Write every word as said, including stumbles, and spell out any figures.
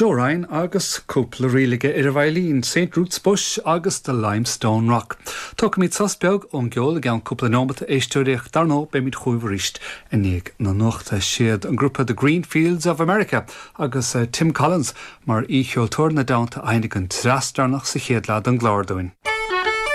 Joe Ryan agus cúpla ríl aige ar an veidhlín St. Ruth's Bush agus the Limestone Rock. Tógfaimid sos beag ón gceol i gceann cúpla nóiméad a éisteoirí dar ndóigh beimid chugaibh arís i ndiaidh na nuachta siad an grúpa The Green Fields of America agus uh, Tim Collins mar aoicheoltóir na dteannta a sheinnfidh an treas deireanach sa chéad leath den gclár dúinn.